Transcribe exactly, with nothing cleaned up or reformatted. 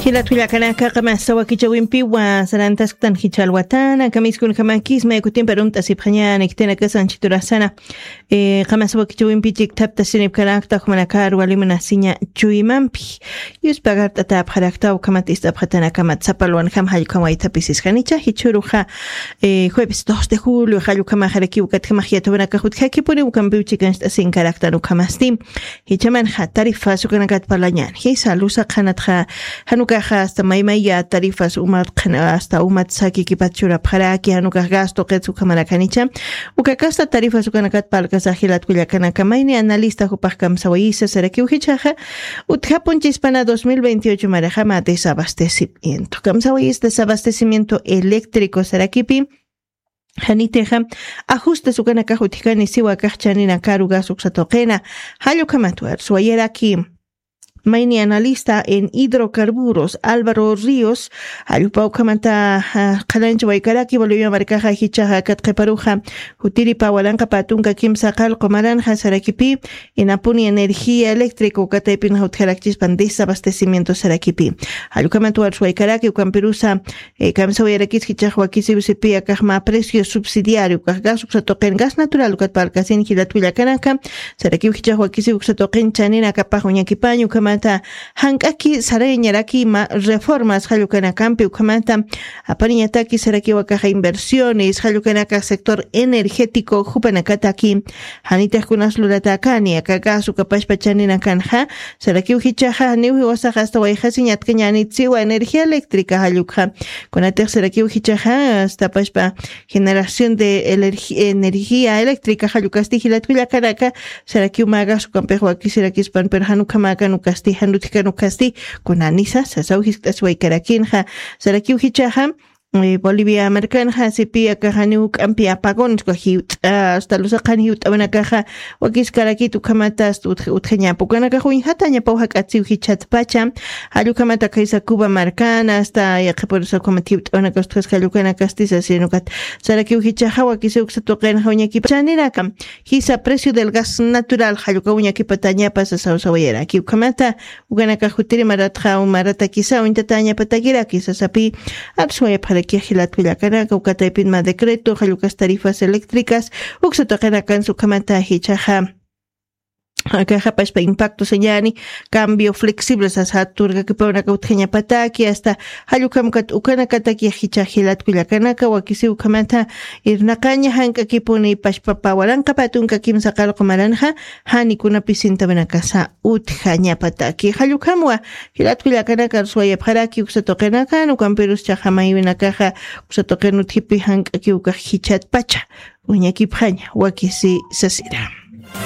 Jilat kullakanaka, qamasa wakichawimpiwa sarantasktan jichha alwatana kamiskunjamakis maykutimpa rumt'asipxañäni khitinakasa anchiturasana. Eh, qamasa wakichawimpi chikthaptasinipkarakta jumanakar walimunasiña chuymampi yuspagart'atapxarakta ukhamat ist'apxatanakamat sapalwanjam jallkham waythapisisjanicha jichhuruxa. Eh, jueves dos de julio jallkhamaxarakiw ukatjamax yathawanakax utjakipuni ukampiw chikancht'asinkaraktan ukhamasti. Jichhamanxa tarifas ukanakat parlañän jisa lusa qhanatxa janukaxa hasta maymaya tarifas umat qhana hasta umat sakikipat churapxaraki janukax gasto qits ukhamarakanicha. Ukakasta tarifas ukanakat parlkasax jilat kullakanaka mayni analista jupax kamsawayisa sarakiw jichhaxa utjapunchispana dos mil veintiocho marixama desabastecimiento kamsawayis desabastecimiento eléctrico sarakipi. Janitixa ajustes ukanakax utjkani siwa kaxchaninakaru gas uksatuqina. Jallukhamatwar suwayaraki mayni analista en hidrocarburos Álvaro Ríos, jallupa ukhamata qhalancha waykaraki bolivia markaxa jichaxa katqiparuxa jutiripa walanqa patunka kimsa qalqu maranxa sarakipi inapuni energía eléctrica ukataypinxa utjarakchispan desabastecimiento sarakipi. Jallukhamatwar suwaykaraki ukampirusa kamsawayarakis jichax wakisiw sipi akaxma precio subsidiario ukax gas uksatuqin gas natural ukat parlkasin jilat kullakanaka. Sarakiw jichax wakisiw uksatuqin chaninakapax uñakipañ ukhamata jank'aki sarayañaraki ma reformas jallukanakampi ukhamata apariñataki sarakiw akaxa inversiones jallukanakas sector energético jupanakataki. Janitix kunas luratäkani aka gas ukapashpa chaninakanxa. Sarakiw jichaxa janiw jiwasaxa asta wayxasiñatkañänit siwa energía eléctrica jallukxa. Kunatix sarakiw jichaxa asta pashpa generación de energía eléctrica jallukasti jilat kullakanaka. Sarakiw mä gas ukampix wakisirakispan pero jan ukhamäkan ukasti jan utjkan ukasti kunanisa sasaw jiskt'asiwaykarakinxa. Sarakiw jichaxa bolivia markanxa sipi akaxani juk'ampi apagones uka jiwt'a asta lusaqan jiwt'awanakaxa wakiskarakit ukhamata asta utjañapa ukanakax uñjatañapaw jak'atsiw jichhatpacha. Jallukhamata khaysa cuba markana asta yaqhipurusa ukhamat jiwt'awanaka ustkhas jallukanakasti sasinakat. Sarakiw jichaxa wakisiw uksatuqinxa uñakipa chaninaka jisa precio del gas natural jalluka uñakipatañapa sasaw sawayaraki ukhamata. Ukanakax jutiri maratxa umaratakisa uñtatañapatakiraki sasapi. Arsuwayapxarakix jilat kullakanaka ukataypinma decreto jallukas tarifas eléctricas uksatuqinakansa ukhamata jichaxa akaxapashpa impacto sañäni cambio flexible sasa turkakipawnaka utjañapataki asta jallukhamkat ukanakatakix jichax jilat kullakanaka wakisiw ukhamata irnaqaña jank'akipuni pashpapa walanqa patunka kimsa qalqu maranxa. Janikunapis sintawanakasa utjañapataki jallukhamwa jilat kullakanaka arsuwayapxaraki uksatuqinakan ukampirus chaxamaywinakaxa uksatuqin utjipi jank'aki ukax jichatpacha uñakipxaña wakisi sasira.